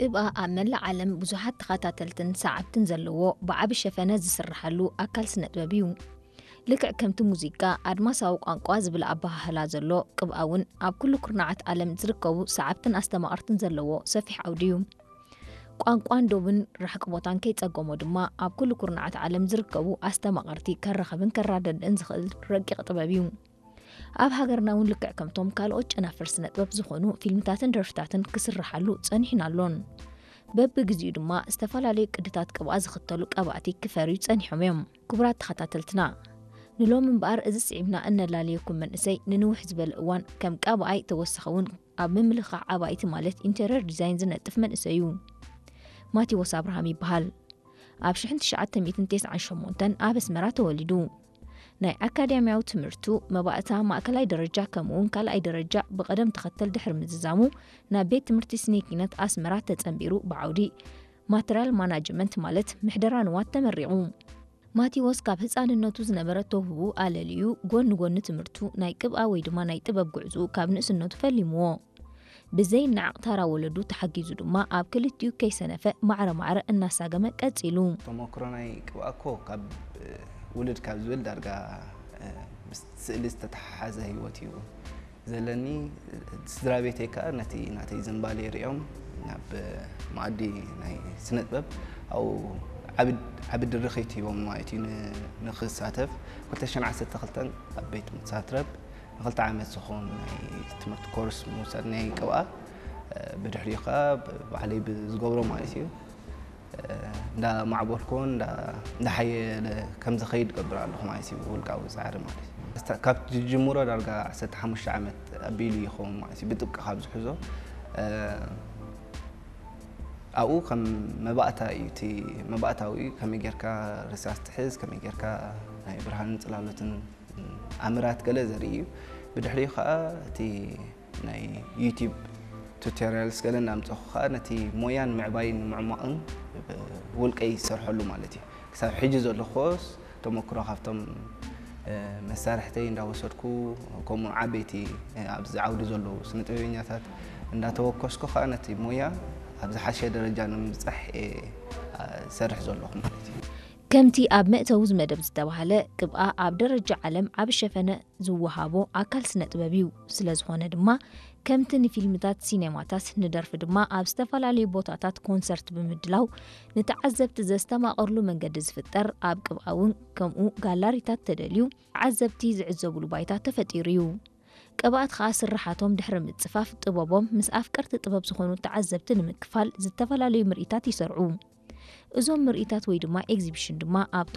ቅብኣ ኣብ መላእ ዓለም ብዙሓት ተኸታተልትን ሰዓብትን ዘለዎ ብዓቢ ሸፈነ ዝስርሓሉ ኣካል ስነጥበብ እዩ። ልክዕ ከምቲ ሙዚቃ ኣድማሳዊ ቋንቋ ዝብል ኣበሃህላ ዘሎ፣ ቅብኣ እውን ኣብ ኩሉ ኩርናዓት ዓለም ዝርከቡ ሰዓብትን ኣስተማቐርትን ዘለዎ ሰፊሕ ዓውዲ እዩ። ቋንቋን ዶብን ራሕቂ ቦታን ከይጸገሞ ድማ ኣብ ኩሉ ኩርናዓት ዓለም ዝርከቡ ኣስተማቐርቲ ከራኸብን ከራደድእን ዝኽእል ረቂቕ ጥበብ እዩ። ኣብ ሃገርና እውን ልክዕ ከምቶም ካልኦት ጨናፍር ስነጥበብ ዝኾኑ ፊልምታትን ደርፍታትን ክስርሓሉ ጸኒሑን ኣሎን። በብግዚኡ ድማ ዝተፈላለዩ ቅድታት ቅብኣ ዝኽተሉ ቀባእቲ ክፈርዩ ጸኒሖም እዮም። ክቡራት ተኸታተልትና፣ ንሎም እምበኣር እዚ ስዒብና እነላለየኩም መንእሰይ ንንውሕ ዝበለ እዋን ከም ቀባኣይ ተወሳኺ እውን ኣብ ምምልኻዕ ኣባይቲ ማለት ኢንተርየር ዲዛይን ዝነጥፍ መንእሰይ እዩ። ማቴዎስ ኣብርሃም ይበሃል። ኣብ ሽሕን ትሽዓተ ሚእትን ተስዓን ሸሞንተን ኣብ ኣስመራ ተወሊዱ። ናይ ኣካዳሚያዊ ትምህርቱ መባእታ ማእከላይ ደረጃ ከምኡውን ካልኣይ ደረጃ ብቐደም ተኸተል ድሕሪ ምዝዛሙ ናብ ቤት ትምህርቲ ስነ ኪነት ኣስመራ ተጸንቢሩ ብዓውዲ ማተርያል ማናጅመንት ማለት ምሕደራ ንዋት ተመሪቑ። ማቴዎስ ካብ ህጻንነቱ ዝነበረ ተውህቡ ኣለልዩ ጎኒ ጎኒ ትምህርቱ ናይ ቅብኣ ወይ ድማ ናይ ጥበብ ጉዕዝኡ ካብ ንእስነቱ ፈሊምዎ። ብዘይ ናዕቕ ታራ ወለዱ ተሓጊዙ ድማ ኣብ ክልቲኡ ከይሰነፈ ማዕረ ማዕረ እናሳገመ ቀጺሉ። ተመክሮ ናይ ቅብኣ እኮ ካብ ውልድ ካብ ዝብል ዳርጋ ምስ ስእሊ ዝተተሓሓዘ ህይወት እዩ ዘለኒ። ስድራ ቤተይ ከኣ ነቲ ናተይ ዝንባሌ ሪኦም ናብ መኣዲ ናይ ስነ ጥበብ ኣብኡ ዓቢ ድርኺት ሂቦም ማለት እዩ ንክሳተፍ። ክልተ ሽሕን ዓሰርተ ክልተን ኣብ ቤት ትምህርቲ ሳትረብ ንክልተ ዓመት ዝኸውን ናይ ትምህርቲ ኮርስ ምውሳድ ናይ ቅብኣ፣ ብድሕሪኡ ከኣ ባዕለይ ብዝገብሮ ማለት እዩ። እንዳማዕበልኩ እንዳሓየለ ከም ዝኸይድ ገብር ኣለኹ ማለት እዩ፣ ውልቃዊ ጻዕሪ ማለት እዩ። ካብ ዝጅምሮ ዳርጋ ዓሰርተ ሓሙሽተ ዓመት ኣቢሉ ይኸውን ማለት እዩ፣ ብጥብቂ ካብ ዝሕዞ። ኣብኡ ከም መባእታ እዩ፣ እቲ መባእታዊ እዩ፣ ከመይ ጌርካ ርሳስ ትሕዝ፣ ከመይ ጌርካ ናይ ብርሃንን ጽላሎትን ኣምራት ገለ ዘርኢ እዩ። ብድሕሪኡ ከኣ እቲ ናይ ዩቲብ ቱቶሪያልስ ገለ እናምጸኹ ከኣ ነቲ ሞያን ምዕባይን ምዕሟቕን ብውልቀይ ዝሰርሐሉ ማለት እዩ። ክሳብ ሕጂ ዘሎ ኮስ ተመክሮ ካብቶም መሳርሕተይ እንዳወሰድኩ፣ ከምኡ ዓበይቲ ኣብዚ ዓውዲ ዘለዉ ስነ ጥበበኛታት እንዳተወከስኩ ከኣ ነቲ ሞያ ኣብ ዝሓሸ ደረጃ ንምብጻሕ እየ ዝሰርሕ ዘለኹ ማለት እዩ። ከምቲ ኣብ መእተዊ ዝመደብ ዝተባህለ፣ ቅብኣ ኣብ ደረጃ ዓለም ዓቢ ሸፈነ ዝወሃቦ ኣካል ስነ ጥበብ እዩ። ስለ ዝኾነ ድማ ከምቲ ንፊልምታት፣ ሲኔማታት፣ ንደርፊ ድማ ኣብ ዝተፈላለዩ ቦታታት ኮንሰርት ብምድላው ንተዓዘብቲ ዘስተማቕርሉ መንገዲ ዝፍጠር፣ ኣብ ቅብኣ እውን ከምኡ ጋላሪታት ተደልዩ ተዓዘብቲ ዝዕዘቡሉ ባይታ ተፈጢሩ እዩ። ቀባእት ከኣ ስርሓቶም ድሕሪ ምጽፋፍ ጥበቦም ምስ ኣፍቀርቲ ጥበብ ዝኾኑ ተዓዘብቲ ንምክፋል ዝተፈላለዩ ምርኢታት ይሰርዑ። እዞም ምርኢታት ወይ ድማ ኤግዚቢሽን ድማ ኣብቶም